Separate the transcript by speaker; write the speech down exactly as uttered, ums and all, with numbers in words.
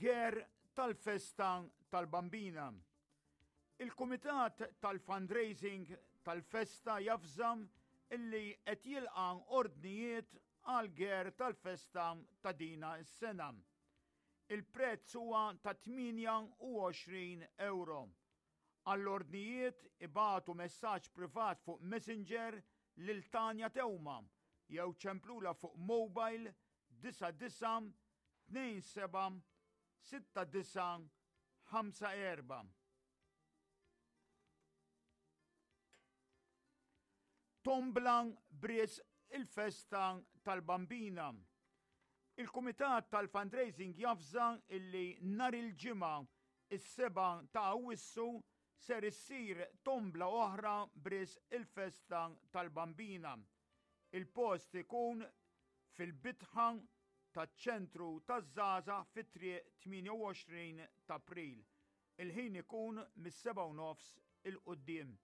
Speaker 1: Ger tal-festa tal-Bambina. Il-Kumitat tal-Fundraising tal-Festa javża illi qed jilqa' ordnijiet għal ger tal-festa ta' din is-sena. Il-prezz huwa ta' tmienja u għoxrin euro. Għall-ordnijiet ibagħtu messaġġ privat fuq Messenger lil Tanja Teuma jew ċemplula fuq mobile disgħa disgħa tnejn seba' sitta disgħa ħamsa erba'. Tombla b'risq il-festa tal-Bambina. Il-Kumitat tal-Fundraising javża illi nhar il-Ġimgħa, is-sebgħa ta' Awwissu, ser issir tombla oħra b'risq il-festa tal-Bambina. Il-post ikun fil-bitħa taċ-ċentru taż-żgħażagħ fi Triq tmienja u għoxrin ta' April. Il-ħin ikun mis-sebgħa u nofs 'il quddiem.